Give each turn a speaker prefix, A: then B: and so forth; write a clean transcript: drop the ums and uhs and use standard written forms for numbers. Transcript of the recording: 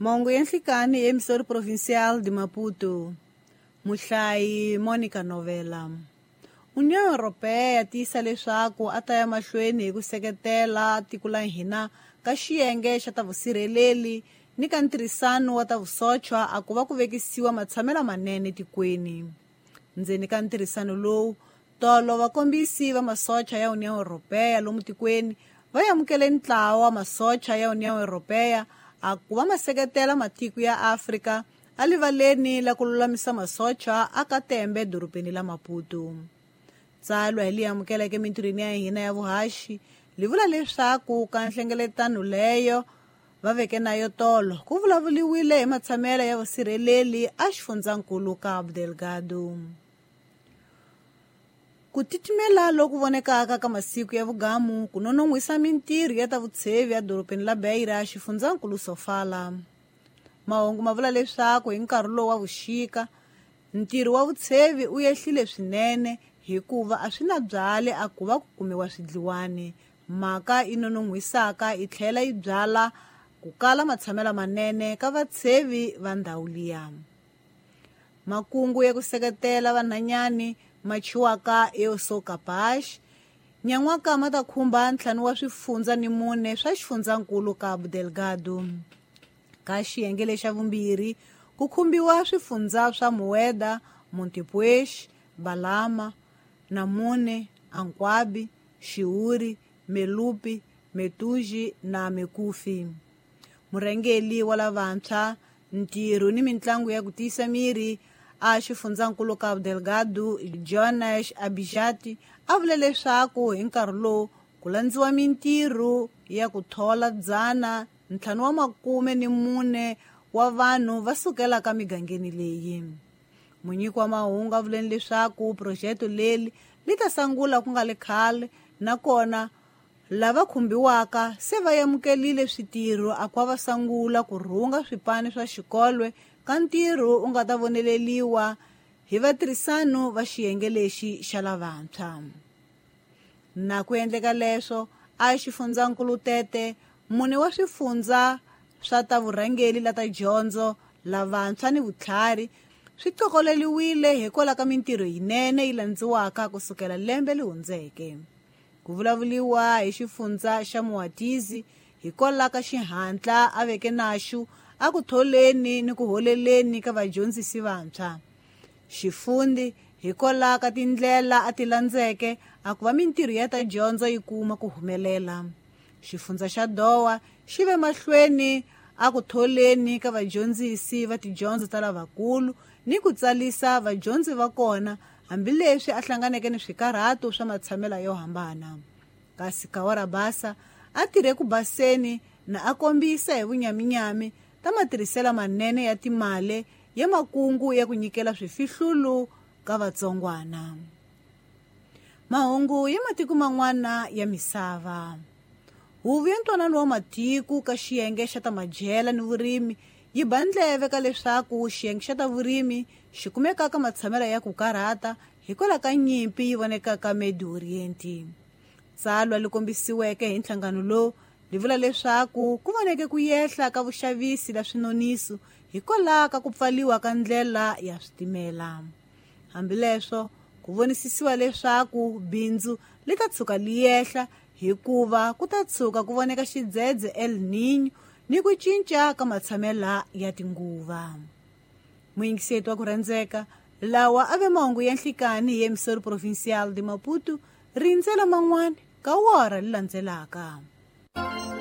A: Mahungu ya nhlikani hi Emissora Provincial de Maputo. Muhlayi Monica Novela. União Europeia tiyisa leswaku a ta ya mahlweni hi ku seketela tiko la hina ka xiyenge xa ta vusirheleli ni ka ntirhisano wa ta vusochwa a ku va ku vekisiwa matshamelo manene tikweni. Ndzeni ka ntirhisano lowu, tolo vakombisi va masocha ya União Europeia lomu tikweni va amukele ntlawa wa masocha ya União Europeia a ku va ma seketela matiko ya Afrika alivaleni la ku lulamisa masocha a ka Tembe dorobeni la Maputo. Tsalwa hi li amukeleke mintirhweni ya hina ya vuhaxi li vula leswaku ka nhlengeletano leyo va veke na yo tolo ku vulavuliwile hi matshamelo ya vusirheleli a xifundzankulu Cabo Delgado. Ku titimela loku vonekaka ka masiku ya vugamu ku nonon'hwisa mintirho ya ta vutshevi ya dorobeni la Beira xifundzankulu Sofala. Mahungu ma vula leswaku hi nkarhi lowu wa vuxika ntirho wa vutshevi u yehlile swinene hikuva a swi na byale a ku va ku kumiwa swidliwani. Mhaka yi nonon'hwisaka yi tlhela yi byala ku kala matshamelo manene ka vatshevi va ndhawu liya. Makungu ya ku seketela vanhanyani ma chiwaka Eu Sou Capaz nyan'waka ma ta khumba 5 wa swifundza ni 4 swa xifundzankulu Cabo Delgado. Ka xiyenge lexa vumbirhi ku khumbiwa swifundza swa Mueda, Montepuez, Balama, Namune, Ankwabi, Xiuri, Melupi, Metuji na Mekufi. Murhangeri wa lavantshwa, ntirho ni mintlangu ya ku tiyisa miri a xifundzankulu Cabo Delgado Jonas Abijati a vule leswaku hi nkarhi lowu ku landziwa mintirho ya ku thola 544 wa vanhu va sukelaka migangeni leyi. Munyiki wa mahungu a vuleni leswaku phurojete leri li ta sungula ku nga le khale nakona lava khumbiwaka se va amukelile switirho a ku va sungula ku rhunga swipani swa xikolwe ka ntirho u nga ta voneleliwa hi vatirhisano va xiyenge lexi xa lavantshwa. Na ku endleka leswo a xifundzankulu Tete mune wa swifundza swa ta vurhangeri la ta dyondzo lavantshwa ni vutlhari swi qokoleliwile hikwalaho ka mintirho yinene yi landziwaka kusukela lembe li hundzeke. Ku vulavuliwa hi xifundza xa Muatizi hikwalaho ka xihatla a veke naxu a ku tholeni ni ku holeleni ka vadyondzisi vantshwa. Xifundi hikwalaho ka tindlela a ti landzeke a ku va mintirho ya ta dyondzo yi kuma ku humelela. Xifundza xa Dowa xi ve mahlweni a ku tholeni ka vadyondzisi va tidyondzo ta lavakulu ni ku tsalisa vadyondzi va kona hambileswi a hlanganeke ni swikarhato swa matshamelo yo hambana. Kasi Kawara Basa a tirhe ku baseni na a kombisa hi vunyaminyami ta matirhiselo manene ya timali ya makungu ya ku nyikela swifihlulu ka vatsongwana. Mahungu ya matiko man'wana ya misava. Huvo ya ntwanano wa matiko ka xiyenge xa ta madyela ni vurimi yi ba ndleve ka leswaku xiyenge xa ta vurimi xi kumeka ka matshamelo ya ku karhata hikwalaho ka nyimpi yi vonekaka Medio Oriente. Tsalwa li kombisiweke hi nhlangano lowu li vula leswaku ku voneke ku yehla ka vuxavisi la swinoniso hikwalaho ka ku pfaliwa ka ndlela ya switimela. Hambileswo ku vonisisiwa leswaku bindzu li ta tshuka li yehla hikuva ku ta tshuka ku voneka xidzedze El Niño ni ku cinca ka matshamelo ya tinguva. Muyingiseti wa ku rhandzeka, lawa a ve mahungu ya nhlikani hi Emissora Provincial de Maputo, rindzela man'wana ka wora li landzelaka.